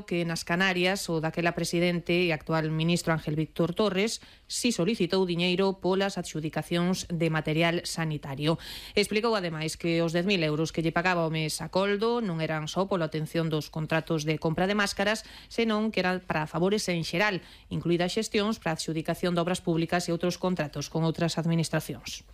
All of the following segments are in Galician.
que nas Canarias o daquela presidente e actual ministro Ángel Víctor Torres si solicitou diñeiro polas adxudicacións de material sanitario. Explicou ademais que os 10.000 euros que lle pagaba o mes a Coldo non eran só pola atención dos contratos de compra de máscaras, senón que eran para favores en xeral, incluídas xestións para a adxudicación de obras públicas e outros contratos con outras administracións.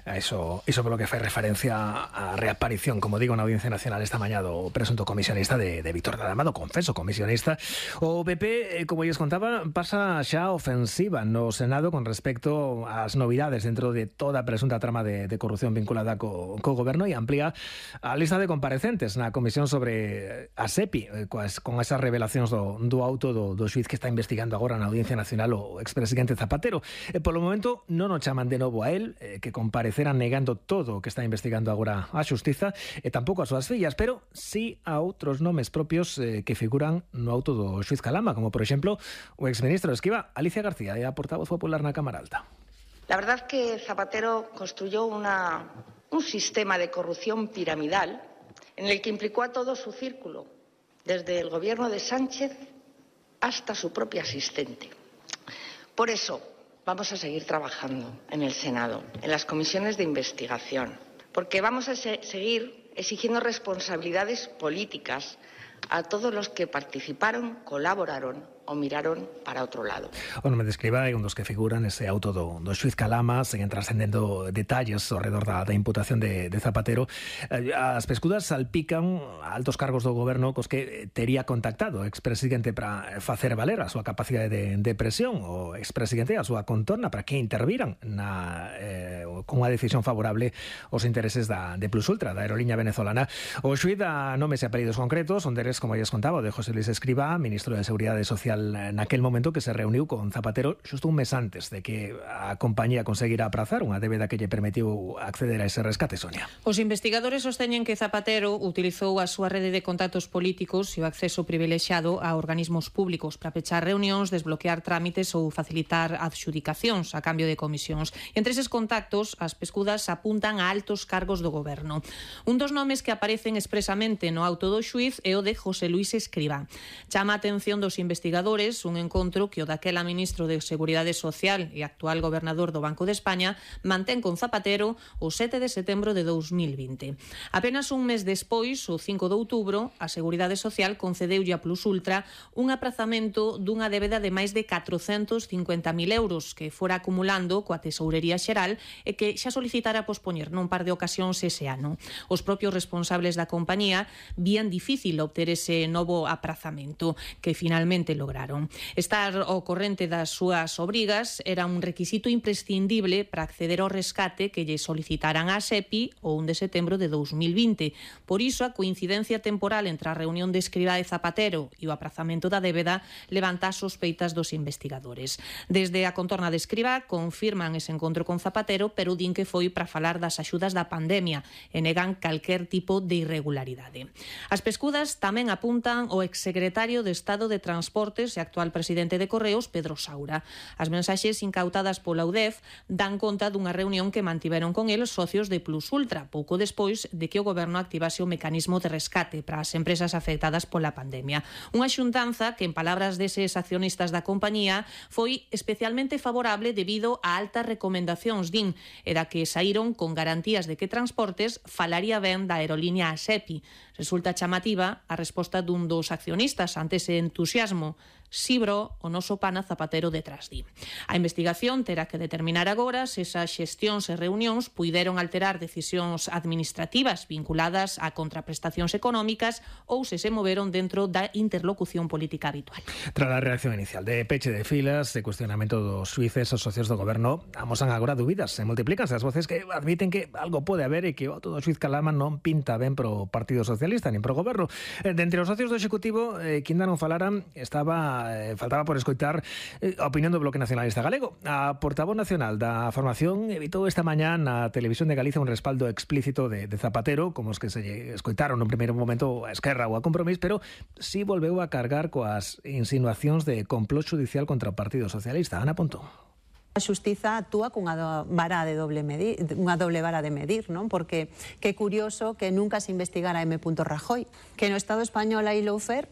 Eso polo que fai referencia á reaparición, como digo, na Audiencia Nacional esta mañá do presunto comisionista de Víctor da Lama, do confeso comisionista. O PP, como lles contaba, pasa xa ofensiva no Senado con respecto ás novidades dentro de toda a presunta trama de corrupción vinculada co goberno e amplía a lista de comparecentes na comisión sobre a SEPI, con esas revelacións do auto do xuiz que está investigando agora na Audiencia Nacional o expresidente Zapatero. Polo momento non o chaman de novo a él, que compareceran negando todo o que está investigando agora a Xustiza e tampouco as súas fillas, pero sí a outros nomes propios que figuran no auto do xuiz Calama, como por exemplo o exministro de Esquiva, Alicia García, e a portavoz popular na Cámara Alta. La verdad que Zapatero construyó un sistema de corrupción piramidal en el que implicó a todo su círculo, desde el gobierno de Sánchez hasta su propia asistente. Por eso vamos a seguir trabajando en el Senado, en las comisiones de investigación, porque vamos a seguir exigiendo responsabilidades políticas a todos los que participaron, colaboraron o miraron para outro lado. O nome de Escrivá é un dos que figuran ese auto do xuiz Calama, seguen trascendendo detalles ao redor da imputación de Zapatero. As pescudas salpican altos cargos do goberno cos que tería contactado o expresidente para facer valer a súa capacidade de presión, o expresidente a súa contorna para que interviran con unha decisión favorable aos intereses de Plus Ultra, da aerolínea venezolana. O xuiz dá nomes e apelidos concretos, onde eres, como ya contaba, de José Luis Escrivá, ministro de Seguridade Social naquel momento, que se reuniu con Zapatero xusto un mes antes de que a compañía conseguira aprazar unha débeda que lle permitiu acceder a ese rescate, Sonia. Os investigadores sosteñen que Zapatero utilizou a súa rede de contactos políticos e o acceso privilexiado a organismos públicos para pechar reunións, desbloquear trámites ou facilitar adxudicacións a cambio de comisións. E entre eses contactos, as pescudas apuntan a altos cargos do goberno. Un dos nomes que aparecen expresamente no auto do xuiz é o de José Luis Escrivá. Chama a atención dos investigadores un encontro que o daquela ministro de Seguridade Social e actual gobernador do Banco de España mantén con Zapatero o 7 de setembro de 2020. Apenas un mes despois, o 5 de outubro, a Seguridade Social concedeulle a Plus Ultra un aprazamento dunha débeda de máis de 450.000 euros que fora acumulando coa Tesourería Xeral e que xa solicitara pospoñer nun par de ocasións ese ano. Os propios responsables da compañía vían difícil obter ese novo aprazamento, que finalmente lograron. Estar ao corrente das súas obrigas era un requisito imprescindible para acceder ao rescate que lle solicitaran a SEPI o 1 de setembro de 2020. Por iso, a coincidencia temporal entre a reunión de Escrivá e Zapatero e o aprazamento da débeda levanta as sospeitas dos investigadores. Desde a contorna de Escrivá confirman ese encontro con Zapatero, pero din que foi para falar das axudas da pandemia e negan calquer tipo de irregularidade. As pescudas tamén apuntan ao exsecretario de Estado de Transportes e actual presidente de Correos, Pedro Saura. As mensaxes incautadas pola UDEF dan conta dunha reunión que mantiveron con el socios de Plus Ultra, pouco despois de que o goberno activase o mecanismo de rescate para as empresas afectadas pola pandemia. Unha xuntanza que, en palabras deses accionistas da compañía, foi especialmente favorable debido a altas recomendacións, din, e da que saíron con garantías de que Transportes falaría ben da aerolínea SEPI. Resulta chamativa a resposta dun dos accionistas ante ese entusiasmo. Sibro, o noso pana Zapatero detrás di. A investigación terá que determinar agora se esas xestións e reunións puideron alterar decisións administrativas vinculadas a contraprestacións económicas ou se moveron dentro da interlocución política habitual. Tras a reacción inicial de peche de filas e cuestionamento dos xuíces, os socios do goberno amosan agora dúbidas e multiplícanse as voces que admiten que algo pode haber e que o todo xuiz Calama non pinta ben pro Partido Socialista nin pro goberno. De entre os socios do Executivo, que ainda non falaran, faltaba por escoitar a opinión do Bloque Nacionalista Galego. A portavoz nacional da formación evitou esta mañá na Televisión de Galicia un respaldo explícito de Zapatero, como os que se escoitaron no primeiro momento a Esquerra ou a Compromís, pero sí volveu a cargar coas insinuacións de complot judicial contra o Partido Socialista. Ana Pontón. A xustiza actúa cunha vara de doble vara de medir, non? Porque que curioso que nunca se investigara M. Rajoy, que no Estado español hai lawfare